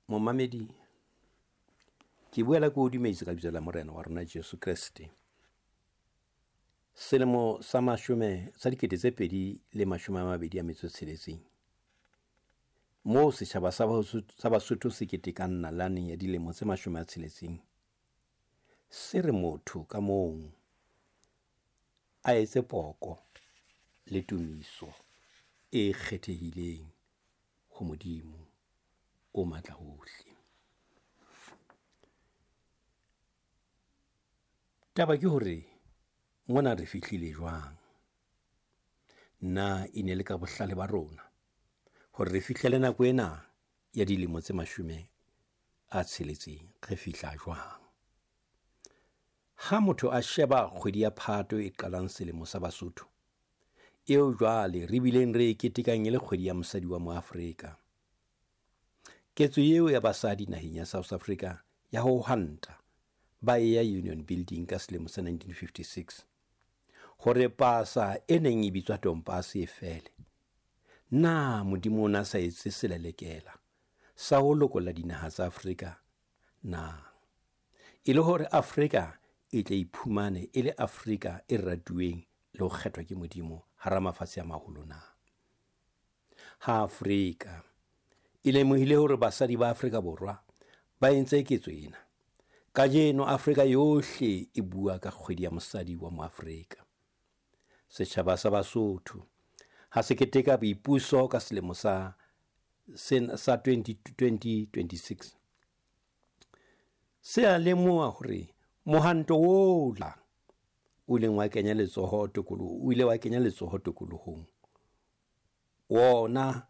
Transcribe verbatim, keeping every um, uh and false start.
Momamedi, ke boela ke o dumedisa ka lebitso la Morena wa rona Jesu Kreste. Selemo sa mashome sa dikete tse pedi le mashome a mabedi a metso e tsheletseng, moo setjhaba sa sa Basotho se ketekang nalane ya dilemo tse mashome a tsheletseng, se re motho ka mong a etse poko le tumiso e kgethehileng ho Modimo o matla ohle. Taba ke hore mona re fihlile jwang? Na e ne le ka bohlale ba rona hore re fihlele nako ena ya dilemo tse mashome a tsheletseng, re fihla jwang? Ha motho a sheba kgwedi ya Phato e qalang selemo sa Basotho, eo jwale re bileng re e ketekang e le kgwedi ya mosadi wa mo Afrika. Ketso eo ya basadi naheng ya South Africa ya ho hwanta ba e ya Union Building ka selemo sa nineteen fifty-six hore pasa e neng e bitswa tompase e fele. Na Modimo o na sa etse selelekela sa ho lokolla dinaha tsa Afrika na? E le hore Afrika e tle iphumane e le Afrika e ratuweng le ho kgethwa ke Modimo hara mafatshe a maholo na? Ha Afrika e lemohile hore basadi ba Afrika Borwa ba entse ketso ena, kajeno Afrika yohle e bua ka kgwedi ya mosadi wa moAfrika. Setjhaba sa Basotho ha se keteka boipuso ka selemo sa sa twenty twenty-six, se a lemoha hore mohanto ola o ileng wa kenya letsoho tokoloho, o ile wa kenya letsoho tokolohong wona